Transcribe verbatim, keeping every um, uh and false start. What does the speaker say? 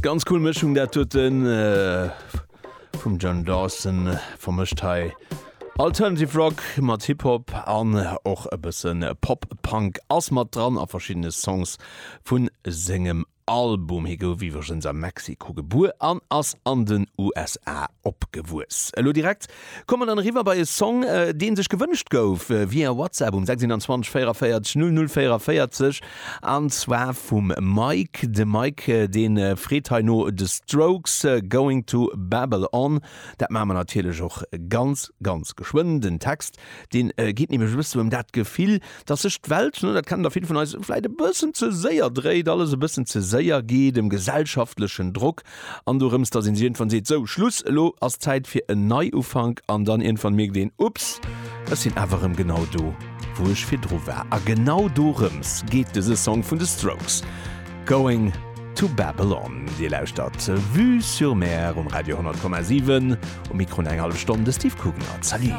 Ganz cool Mëschung dat doten äh, vum John Dawson vermëscht hei. Alternative Rock mat Hip-Hop an och e bëssen Pop-Punk ass mat dran a verschiddene Songs vun sengem Album. Hie gouf iwwregens a Mexiko gebuer an ass an den USA opgewuess. Elo direkt komme mer dann eriwwer bei e Song, äh, deen sech gewënscht gouf äh, via WhatsApp um sechsundzwanzeg véierundvéierzeg null null véierundvéierzeg an zwar vum Mike. De Mike, äh, deen äh, freet hei no The Strokes äh, Going to Babylon. Dat maache mer natierlech och ganz ganz geschwënn. Den Text, deen äh, geet nämlech e bëssen ëm dat Gefill, dass sech d'Welt, ne, dat kennen der vill vun eis, vläicht e bëssen ze séier dréit, alles e bëssen ze séier geet, dem gesellschaftlechen Drock an dorëms, dass een sech iergendwann seet, sou, Schluss, elo ass Zäit fir en Neiufank an dann iergendwann mierkt een, ups, ech sinn awer erëm genau do, wou ech virdru war. A genau dorëms geet dëse Song vun The Strokes, Going to Babylon. Dir lauschtert Vue sur Mer um Radio honnert Komma siwen, um Mikro eng hallef Stonn de Steve Kugener. Salut!